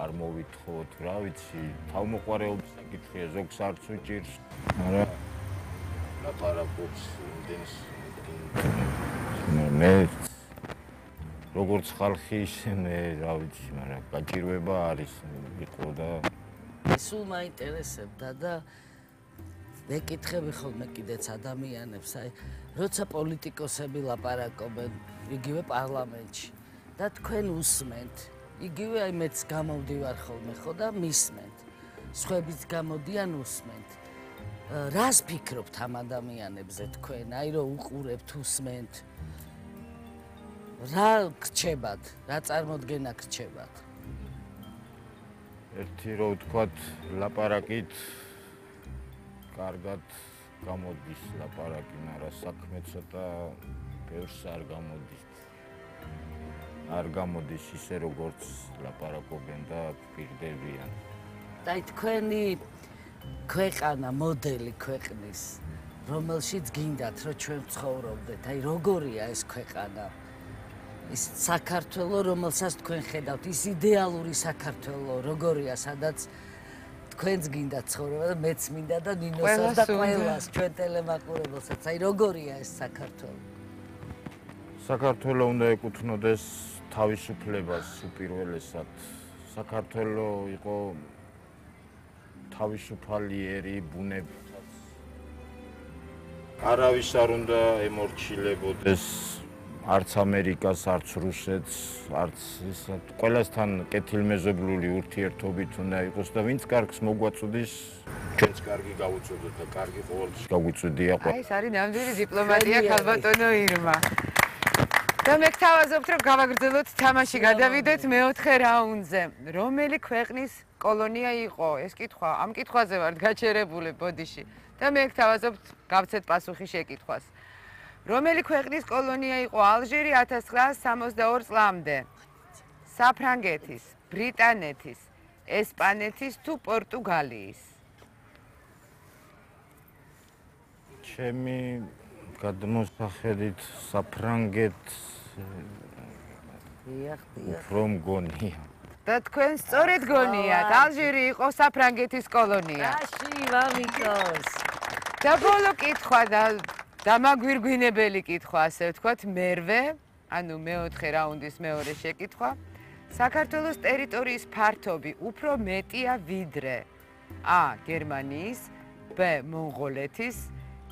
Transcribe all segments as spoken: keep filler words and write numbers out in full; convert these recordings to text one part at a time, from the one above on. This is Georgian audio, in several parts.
არ მოვითხოვოთ, რა ვიცი, თავმოყარეობის საკითხია, ზოგს არც უჭირს. არა ლაპარაკობს იმდენს მე როგორც ხალხი ისე მე რა ვიცი, მაგრამ გაჭირვება არის იყო და სულ მაინტერესებდა და მეკითხები ხოლმე კიდეც ადამიანებს, აი, როცა პოლიტიკოსები ლაპარაკობენ იგივე პარლამენტში და თქვენ უსმენთ, იგივე აი მეც გამოვდივარ ხოლმე ხო და მისმენთ. სხვაებიც გამოდიან უსმენთ. რას ფიქრობთ ამ ადამიანებზე თქვენ, აი რომ უყურებთ, უსმენთ? რა გრჩებათ, რა წარმოდგენა გრჩებათ? ერთი რო ვთქვათ, ლაპარაკით კარგად გამოდის ლაპარაკი, მაგრამ საქმე ცოტა ბევრს არ გამოდის. არ გამოდის ისე როგორც ლაპარაკობენ და პირდებიან. აი თქვენი ქვეყანა, მოდელი ქვეყნის, რომელშიც გინდათ რომ ჩვენ ვცხოვრობდეთ, აი როგორია ეს ქვეყანა? ის საქართველო, რომელსაც თქვენ ხედავთ, ის იდეალური საქართველო, როგორია, სადაც თქვენც გინდა ცხოვრება და მეც მინდა და ნინოსაც და ყველას ჩვენ ტელემაყურებელსაც. აი როგორია ეს საქართველო? საქართველო უნდა ეკუთვნოდეს თავისუფლებას უპირველესად. საქართველო იყო თავისუფალიერი ბუნებითაც. არავის არ უნდა ემორჩილებოდეს არც ამერიკას, არც რუსეთს, არც ისეთ ყველასთან კეთილმეზობლური ურთიერთობით უნდა იყოს და ვინც კარგს მოგვაწოდის, ჩვენც კარგი გავუწოდოთ და კარგი ყოველთვის გაგვიწოდია. აი ეს არის ნამდვილი დიპლომატია ქალბატონო ირმა. და მე გთავაზობთ რომ გავაგრძელოთ თამაში, გადავიდეთ მეოთხე რაუნდზე. რომელი ქვეყნის კოლონია იყო? ეს კითხვა, ამ კითხვაზე ვართ გაჩერებული ბოდიში. და მე გთავაზობთ გავცეთ პასუხი შეკითხვას. რომელი ქვეყნის კოლონია იყო ალჟირი ათას ცხრაას სამოცდაორ წლამდე? საფრანგეთის, ბრიტანეთის, ესპანეთის თუ პორტუგალიის? ჩემი გადმოსახედით საფრანგეთს უფრო მგონია. და თქვენ სწორედ გონიათ, ალჟირი იყო საფრანგეთის კოლონია. რაში ვამიკოს? და ბოლო კითხვა და დამაგვირგვინებელი კითხვა, ასე ვთქვათ, მერვე, ანუ მეოთხე რაუნდის მეორე შეკითხვა. საქართველოს ტერიტორიის ფართობი უფრო მეტია ვიდრე A. გერმანიის, B. მონღოლეთის,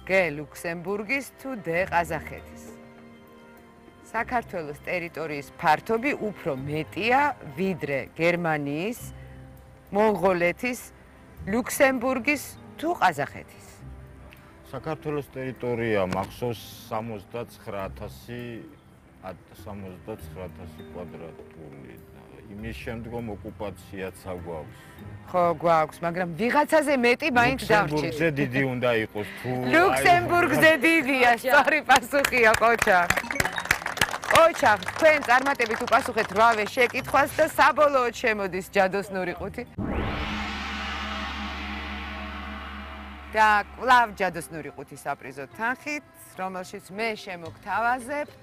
G. ლუქსემბურგის თუ D. ყაზახეთის? საქართველოს ტერიტორიის ფართობი უფრო მეტია ვიდრე გერმანიის, მონღოლეთის, ლუქსემბურგის თუ ყაზახეთის? საქართველოს ტერიტორია მახსოვს სამოცდაცხრა ათასი კვადრატული. იმის შემდგომ ოკუპაციაც აგვაქვს. ხო, გვაქვს, მაგრამ ვიღაცაზე მეტი მაინც დარჩით. ლუქსემბურგზე დიდი უნდა იყოს თუ ლუქსემბურგზე დიდია, სწორი პასუხია, ყოჩა. ყოჩა, თქვენ წარმატებით უპასუხეთ რვავე შეკითხვას და საბოლოოდ შემოდის ჯადოსნური ყუთი. და კვლავ ჯადოსნური ყუთი საპრიზო თანხით, რომელშიც მე შემოგთავაზებთ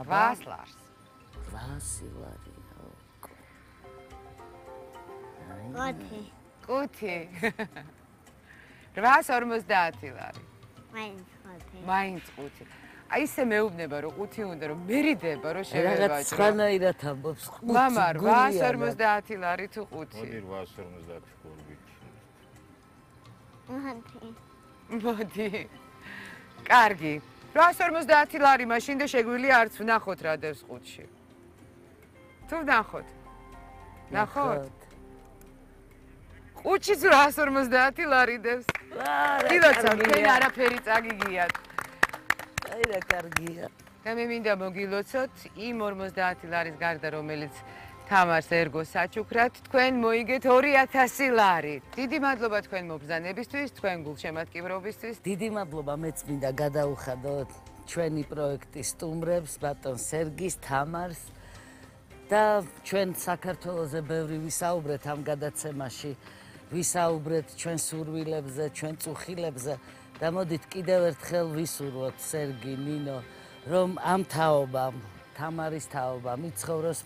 რვას ლარს. რვას ლარი. ყუთი. ყუთი. რვას ორმოცდაათი ლარი. მაინც ყუთი. მაინც ყუთი. აი ისე მეუბნება რომ ყუთი უნდა რომ მერიდება რომ შევევაჭრო. რაღაც სხვანაირად ამბობს ყუთი. მამა რვას ორმოცდაათი ლარი თუ ყუთი. მოდი რვას ორმოცდაათი გორბი. მოდი. მოდი. კარგი. რვას ორმოცდაათი ლარი მაშინ და შეგვიძლია არც ვნახოთ რა დევს ყუთში. თუ ვნახოთ? ნახოთ? ყუთშიც რვას ორმოცდაათი ლარი დევს. კიდოცა თქვენ არაფერი წაგიგიათ. აი რა კარგია. და მე მინდა მოგილოცოთ იმ ორმოცდაათი ლარის გარდა, რომელიც თამარს ერგო საჩუქრად, თქვენ მოიგეთ ორი ათასი ლარი. დიდი მადლობა თქვენ მობრძანებისთვის, თქვენ გულშემატკივრობისთვის. დიდი მადლობა, მეც მინდა გადაუხადოთ ჩვენი პროექტის სტუმრებს, ბატონ სერგის, თამარს და ჩვენ საქართველოზე ბევრი ვისაუბრეთ ამ გადაცემაში. ვისაუბრეთ ჩვენ სურვილებზე, ჩვენ წუხილებზე და მოდით კიდევ ერთხელ ვისურვოთ სერგი, ნინო, რომ ამ თაობამ, თამარის თაობამ იცხოვროს